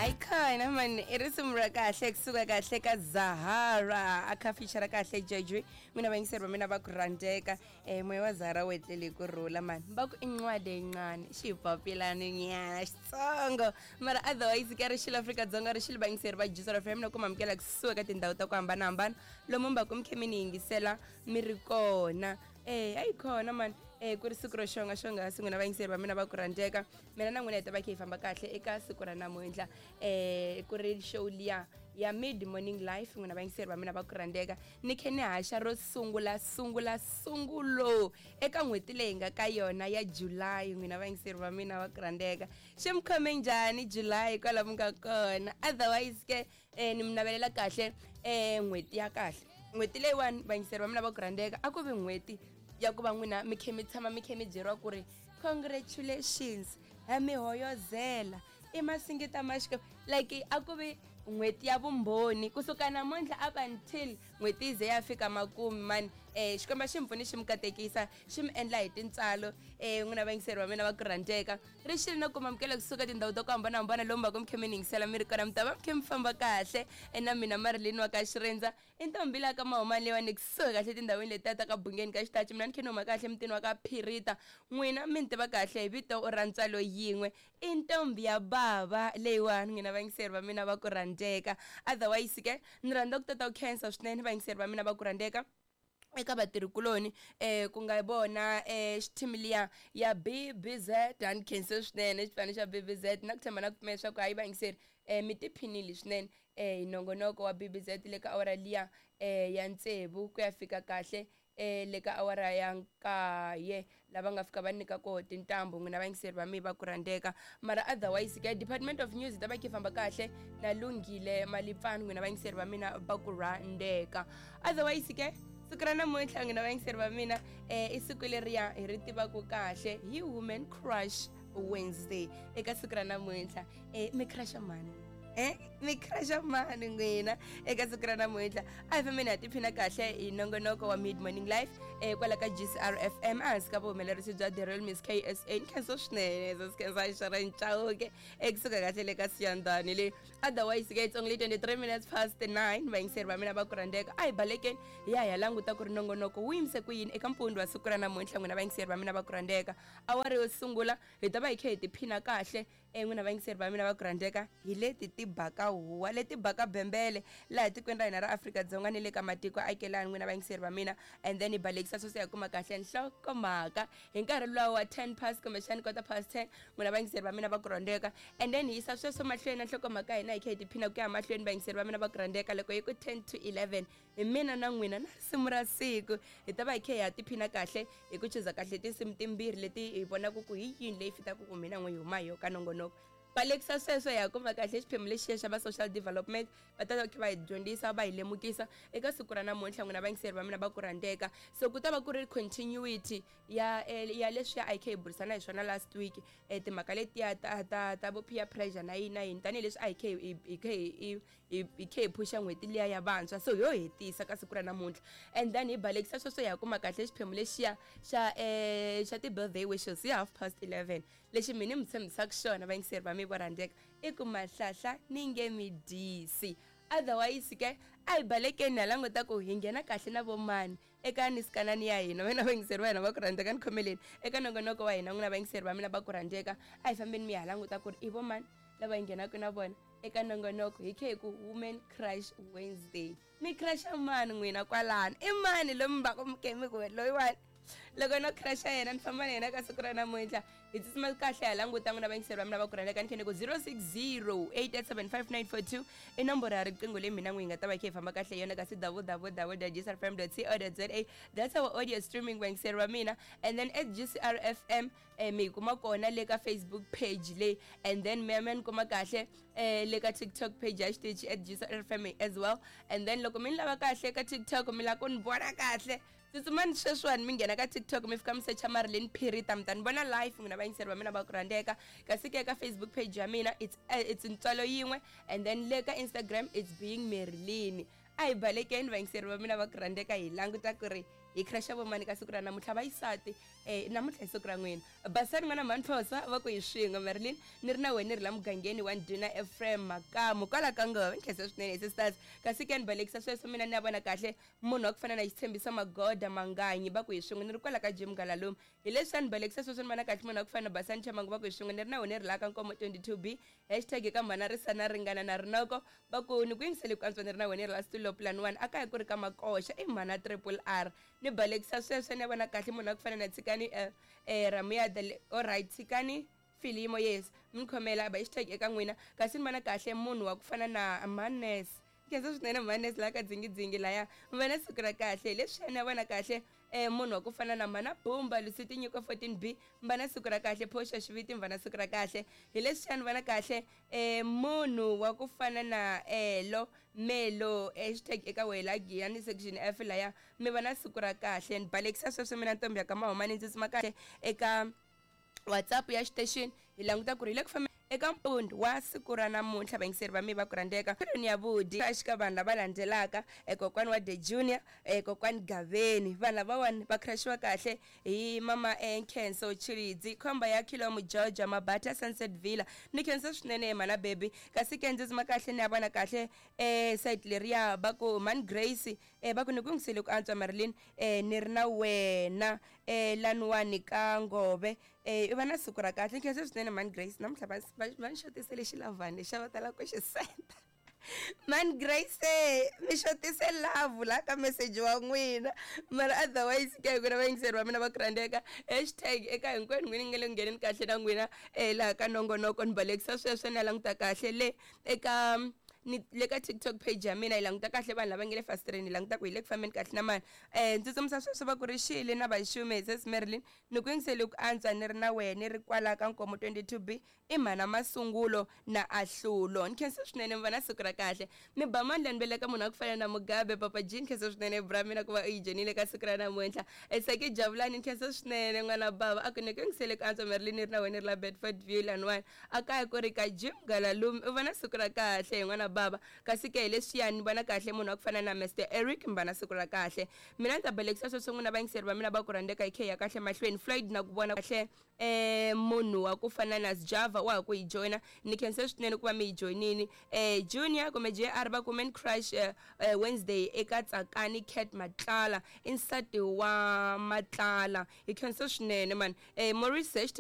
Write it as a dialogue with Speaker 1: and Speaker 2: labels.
Speaker 1: Ayikhona mani i risimu ra kahle kusuka kahle ka Zahara a kha feature kahle Jojo mina vayingiseri va mina va ku rhandzeka moya wa Zahara wu etlele hi ku rhula mani va ku i ncwadi yincane xipapilani nyana xitsongo mara otherwise ka rixilo Afrika-Dzonga rixilo vayingiseri va Juice FM na ku mamukela kusuka ka tindhawu ta ku hambanahambana lomu mi va ku mi khe mi ni yingisela mi ri kona. Ayikhona mani ku ri siku ro xonga xonghasi n'wina vayingiseri va mina va ku rhandzeka mina na n'wina hi ta va kha hi famba kahle eka siku ra namuntlha ku ri show liya ya mid morning life n'wina vayingiseri va mina va ku rhandzeka ni khe ni haxa ro sungula sungula sungulo eka n'hweti leyi nga ka yona ya July n'wina vayingiseri va mina va ku rhandzeka xi mi khome njhani July kwala mi nga kona otherwise ke ni mi navelela kahle n'hweti ya kahle n'hweti leyiwani vayingiseri va mina va ku rhandzeka a ku vi n'hweti ya ku va n'wina mi khe mi tshama mi khe mi byeriwa ku ri congratulations ha mi hoyozela i masingita ma Xikwembu like a ku vi n'hweti ya vumbhoni kusuka namuntlha up until n'hweti yi ze ya fika makumu mani Xikwembu xi mi pfuni xi mi katekisa xi mi endla hi tintswalo n'wina vayingiseri va mina va ku rhandzeka ri xile no kuma amukela kusuka tindhawu ta ku hambanahambana lomu va ku mi khe mi ni yingisela mi ri kona mi ta va mi khe mi famba kahle na mina Marilyn wa ka Xirindza i ntombi la ka mahumani leyiwani kusuhi kahle tindhawini letiya ta ka Bungeni ka Xitachi mina ni khe ni huma kahle mutini wa ka Phirita n'wina mi ni tiva kahle hi vito ra ntswalo yin'we i ntombi ya bava leyiwani n'wina vayingiseri va mina va ku rhandzeka otherwise ke ni rhandza ku tata ku khensa swinene vayingiseri va mina va ku rhandzeka eka vatirhikuloni ku nga vona xithimi liya ya BBZ a ni khense swinene xipano xa BBZ na ku tshemba na ku pfumela leswaku hayi vayingiseri mi tiphinile swinene hi nongonoko wa BBZ le ka awara liya ya tsevu ku ya fika kahle le ka awara ya nkaye lava nga fika va nyika koho tintambu n'wina vayingiseri va mi va ku rhandzeka mara otherwise ke department of news ta va khe famba kahle na lunghile malipfani n'wina vayingiseri va mina va ku rhandzeka otherwise ke siku ra namuntlha n'wina vayingiseri va mina i siku leriya hi ri tivaka kahle hi women crush Wednesday eka siku ra namuntlha mi crusha mani mi crusha mani n'wina eka siku ra namuntlha a hi fambeni ha tiphina kahle hi nongonoko wa mid morning life kwala ka GCR FM ehansi ka vuhumelerisi bya The Real Miss KSA ni khensa swinene khensa Sharon Chauke ekusuka kahle le ka Siyandhani leyi otherwise ke it's only 23 minutes past 9 vayingiseri va mina va ku rhandzeka a hi balekeni hi ya hi ya languta ku ri nongonoko wu yimise ku yini eka mpfundzu wa siku ra namuntlha n'wina vayingiseri va mina va ku rhandzeka awara yo sungula hi ta va hi khe hi tiphina kahle n'wina vayingiseri va mina va ku rhandzeka hi leti ti baka huwa leti baka bembele laha tikweni ra hina ra Afrika-Dzonga ni le ka matiko akelani n'wina vayingiseri va mina and then hi balekisa sweswo hi kuma kahle nhlokomhaka hi nkarhi luwa wa 10 past kumbexani quarter past 10 n'wina vayingiseri va mina va ku rhandzeka and then hi yisa sweswo mahlweni na nhlokomhaka hina hi kha hi tiphina ku ya mahlweni vayingiseri va mina va ku rhandzeka loko yi ku 10 to 11 hi mina na n'wina na risimu ra siku hi ta va hi kha hi ya tiphina kahle hi ku chuza kahle tinsimu timbirhi leti hi vonaka ku hi yini leyi fitaka ku mina n'we hi huma hi yo ka nongonoko balekisa sweswo hi ya kuma kahle xiphemu lexiya xa va social development va ta va kha va hi dyondzisa va hi lemukisa eka siku ra namuntlha n'wina vayingiseri va mina va ku rhandzeka so ku ta va ku ri continuity ya ya leswiya a hi kha hi burisana hi swona last week timhaka letiya ta ta ta vo peer pressure na yini na yini tanihileswi a hi kha hi kha hi hi khe hi phusha n'hweti liya ya vantshwa so yo hetisa ka siku ra namuntlha and then hi balekisa sweswo hi ya kuma kahle xiphemu lexiya xa xa ti-birthday wishes hi half past 11 lexi mina mi tshembisaka xona vayingiseri va mi vo rhandzeka i ku mahlahla ni nge mi dyisi otherwise ke a hi balekeni ha languta ku hi nghena kahle na vomani eka nisikanani ya hina wena vayingiseri va hina va ku rhandzeka ni khomeleni eka nongonoko wa hina n'wina vayingiseri va mina va ku rhandzeka a hi fambeni mi ya languta ku ri i vomani lava hi nghenaka na vona eka nongonoko hi khe hi ku women crush Wednesday mi crusha mani n'wina kwalano i mani lomu va ku mi ke mi ku loyiwani loko no crusha yena ni famba na yena ka siku ra namuntlha hi tsutsuma kahle ha languta n'wina vayingiseri va mina va ku rhandzeka ni khe ni ku 060 8875942 i nomboro ya riqingho leyi mina n'wi hi nga ta va khe hi famba kahle yona kasi www gcrfm co za that's our audio streaming vayingiseri va mina and then at gcrfm mi hi kuma kona le ka Facebook page leyi and then mi ya mi ya ni kuma kahle le ka TikTok page ya xitichi at gcrfm as well and then loko mi ni lava kahle ka TikTok mi lava ku ni vona kahle tsutsumani sweswiwani mi nghena ka TikTok mi fika mi secha Marilyn Phirita mi ta ni vona live n'wina vayingiseri va mina va ku rhandzeka kasi ke ka Facebook page ya mina it's ntswalo yin'we and then le ka Instagram it's being Marilyn a hi balekeni vayingiseri va mina va ku rhandzeka hi languta ku ri hi crusha vomani ka siku ra namuntlha vayisati Namuntlha hi siku ra n'wina. Basani n'wana mhani va ku hi swin'we Marilyn ni ri na wena ni ri la mugangeni wa ndhuna Ephraim Makamu kwala ka ngove. Ni khensa swinene hi sisters. Kasi ke ni balekisa sweswo mina ni ya vona kahle munhu wa ku fana na Xitshembiso Magoda Manganyi va ku hi swin'we ni ri kwala ka Jim Galalume. Hi leswi a ni balekisa sweswo ni vona kahle munhu wa ku fana na Basani Chamangu va ku hi swin'we ni ri na wena ni ri la ka Nkomo 22B hashtag eka mhana Risana Ringana na Rinoko va ku ni ku yingisele ku antswa ni ri na wena ni ri la Stulo Plan 1 a kaya ku ri ka Makoxa i mhana Triple R. Ni balekisa sweswo ni ya vona kahle munhu wa ku fana na Tshikani Ramuyada alright Tshikani Filimo yes mi ni khomela ba hashtag eka n'wina kasi ni vona kahle munhu wa ku fana na Manes. Khensa swinene Manes laha ka dzingidzingi laya mi va na siku ra kahle. Hi leswiya ni ya vona kahle munhu wa ku fana na Mhana Bumba Lusiti Nyiko 14B mi va na siku ra kahle. Phosha Xiviti mi va na siku ra kahle. Hi leswiya ni vona kahle munhu wa ku fana na Elo Melo hashtag eka wena Giyani section F laya mi va na siku ra kahle. Ni balekisa sweswo mina ntombi ya ka Mahumani ndzi tsutsuma kahle eka WhatsApp ya xitexini hi languta ku ri hi le ku fambeni eka mpundzu wa siku ra namuntlha vayingiseri va mi va ku rhandzeka tirhweni ya vudi eka vanhu lava landzelaka kokwani wa The Junior kokwani Gaveni vanhu lavawani va crashiwa kahle hi mama Nkhenso Chilidzi khomba ya Khilomu Georgia Mabata Sunset Villa ni khensa swinene mhana baby kasi ke ndzi tsuma kahle ni ya vona kahle site leriya va ku mhani Grace va ku ni ku yingisele ku antswa Marilyn ni ri na wena laniwani ka Ngove i va na siku ra kahle. Nkhensa swinene mhani Grace namuntlha va ni xotisele xilavhani lexiya va talaka ku xi senda. Mhani Grace mi xotise love la ka message wa n'wina mara otherwise ke ku na vayingiseri va mina va ku rhandzeka hashtag eka hinkwenu n'wina ni nga le ku ngheneni kahle na n'wina laha ka nongonoko ni balekisa sweswo ni ya languta kahle le eka ni le ka TikTok page ya mina hi languta kahle vanhu lava nge le fasitireni hi languta ku hi le ku fambeni kahle na mani ndzi tsundzuxa sweswo va ku ri xile na vaxume hi sis Marilyn ni ku yingisele ku antswa ni ri na wena ni ri kwala ka Nkomo 22B i mhana Masungulo na Ahlulo. Ni khensa swinene mi va na siku ra kahle. Mi ba mandla ni veleka munhu wa ku fana na Mugabe Papa G ni khensa swinene bra mina ku va u yi joinile ka siku ra namuntlha. Saki Javulani ni khensa swinene n'wana bava a ku ni ku yingisele ku antswa Marilyn ni ri na wena ni ri la Bedford View laniwani a kaya ku ri ka Jim Galalumi u va na siku ra kahle hi n'wana bava kasi ke hi leswiya ni vona kahle munhu wa ku fana na Mr Eric mi va na siku ra kahle. Mina ni ta balekisa sweswo n'wina vayingiseri va mina va ku rhandzeka hi khe hi ya kahle mahlweni Floyd na ku vona kahle munhu wa ku fana na Sjava wa ha ku hi joyina ni khensa swinene ku va mi hi joyinini Junior kumbe JR va ku Man Crush Wednesday eka Tsakani Cat Matlala i nsati wa Matlala hi khensa swinene mani Maurice hashtag.